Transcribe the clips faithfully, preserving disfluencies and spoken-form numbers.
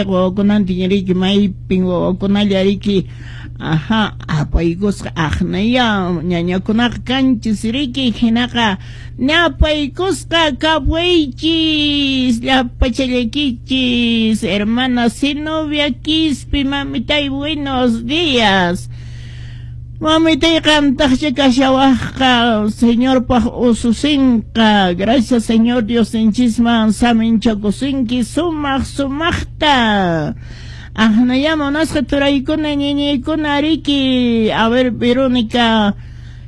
Ch'eqwa wawakunantin riki, maypin wawakunalla riki, aha, apaykusqa aqnaya ñañakunaqa kanchis riki, hinaqa ñapaykusqa kapuychis llapachallaykichis. Hermana Zenobia Quispe, mamitay, buenos días. Mamitay, qamtaqcha kashawaqqa Señorpaq ususinqa. Gracias Señor Diosninchisman saminchakusinki sumaq sumaqta. Aqnaya munasqa turaykuna ñañaykuna riki. A ver, Verónica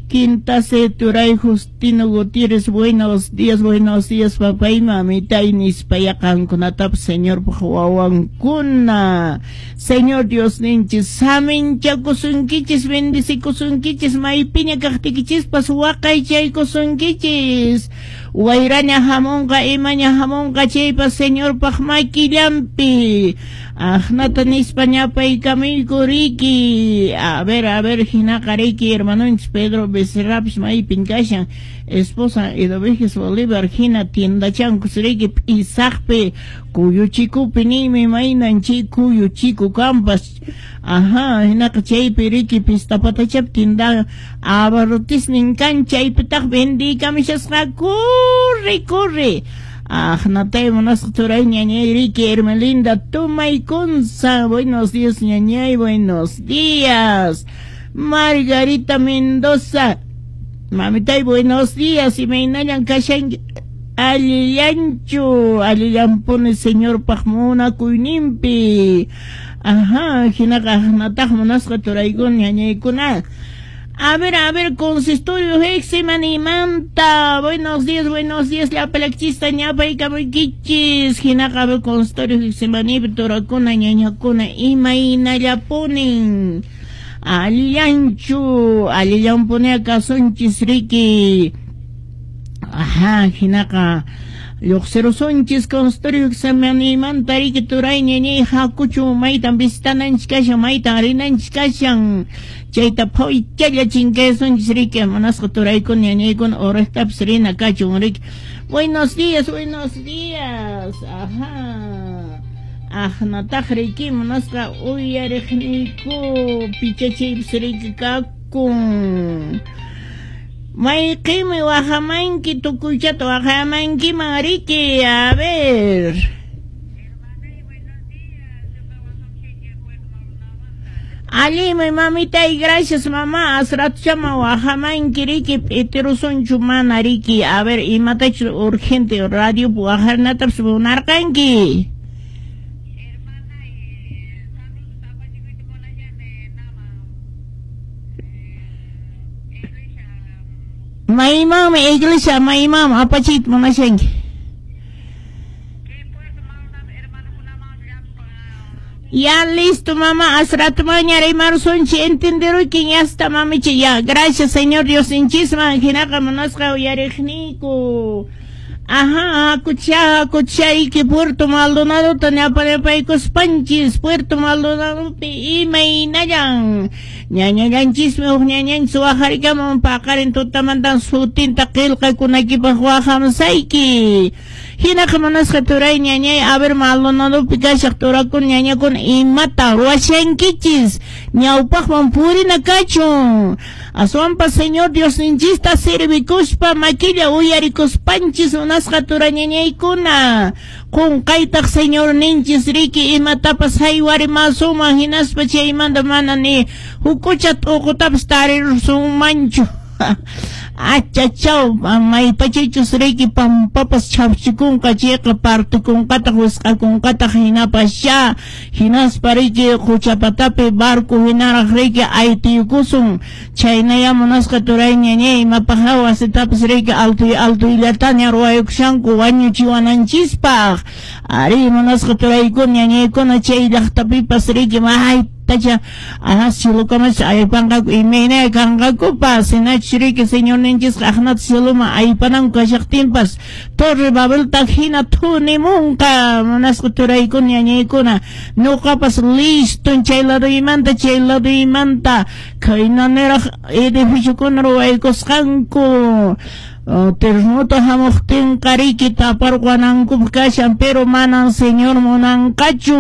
Quintase, turay Justino Gutiérrez, buenos días, buenos días, papá y mamitay, nispaya qankunatapas Señorpaq wawankuna. Señor Diosninchis saminchakusunkichis, bendicikusunkichis, maypiña kaqtikichispas waqaychaykusunkichis. Wayraña hamunqa, imaña hamunqa chaypas Señorpaq makillanpi. Aqnata nispa ñapaykamuyku riki. A ver, a ver, hinaqa riki, hermanonchis Pedro Becerrapis maypin kashan, esposa Edovejes Bolívar hina tiendachankus riki p'isaqpi kuyuchikupi ninmi, maynan chay kuyuchiku kampas. Ajá, hinaqa chaypi riki pistapatachapi tienda abarrotisnin kan, chaypitaq vendiykamishasqa, corre, corre. Aqnatay munasqa turay ñañay riki, Hermelinda Tumaykunza, buenos días ñañay, buenos días. Margarita Mendoza, mamitay, buenos días, imaynallan kashanki, allillanchu, allillanpuni Señorpaq munakuyninpi. Ajá, hinaqa aqnataq munasqa turaykuna ñañaykuna. A ver, a ver, consistorio Getsemanímanta. Buenos días, buenos días, llapalakchista ñapaykamuykichis. Hinaqa, a ver, consistorio Getsemaní, turakuna, ñañakuna, imaynallapunin. Allillanchu, allillanpuni kasunchis riki. Ajá, hinaqa lluqsirusunchis consistorio Getsemanímanta riki turay ñañay, hakuchu maytan visitananchis kashan, maytan rinanchis kashan. Chayta phuychalla chinkaysunchis riki, munasqa turaykuna ñañaykuna, uraqtapas rina kachun riki. Buenos días, buenos días. Ajá. Aqnataq riki munasqa uyariqniyku pichachaypas riki kakun. Mayqinmi waqamanki, tukuychata waqamankiman riki, a ver. Hermanay, buenos días. Ñuqa waqamshayki Puerto Maldonadamanta. Allinmi mamitay, gracias mamá. Asratuchama waqamanki riki, p'itirusunchu mana riki. A ver, imatachus urgente radio waqarnatapas munarqanki. Hermanay, saludos apachikuyta munashani naman eh, iglesia. Maymanmi iglesia, maymanmi apachiyta munashanki? Kay Puerto Maldonado hermanokunaman llapan. Ya listo, mamá, asratumaña rimarusunchik, entenderuykin, ya está, mamicha, ya, gracias Señor Diosninchisman, hinaqa munasqa uyariqniyku. Ajá, hakucha, hakuchayki Puerto Maldonadota ñapanapaykuspanchis, Puerto Maldonadopi imaynallan. Ñañallanchismi huk ñañanchis waqarikamun paqarin tutamantan sutinta qillqakunaykipaq waqamsayki. Hinaqa munasqa turay ñañay, a ver, Maldonadopi kashaq turakuna ñañakuna imata ruwashankichis, ñawpaqman purina kachun. Aswanpas Señor Diosninchista servikuspa makilla uyarikuspanchis munasqa turañañaykuna. Qunqaytaq Señorninchis riki imatapas haywarimasunman hinaspa chaymanta mana ni hukucha t'uqutapas tarirusunmanchu. Achachaw, maypachaychus riki pampapas chhapchikunqa chayqa partikunqataq wisq'akunqataq hinapas ya hinaspa riki quchapatapi barco hinaraq riki aytiykusun. Chaynaya munasqa turay ñañay, imapaq wasitapas riki altuy altuyllataña ruwaykushanku wañuchiwananchispaq. Ari munasqa turaykuna ñañaykuna, chay llaqtapipas riki maytacha aha cielokamas aypanqaku imayna kanqakupas, hinachus riki Señorninchisqa aqnata cieloman aypananku kashaqtinpas Torre Babelta hina thunimunqa. Munasqa turaykuna ñañaykuna, ñuqapas liston chay laduymanta chay laduymanta khayna niraq edificiokuna ruwaykusqanku. Terremoto hamuqtinqa riki taparqanankupaq kashan, pero manan Señor munanqachu.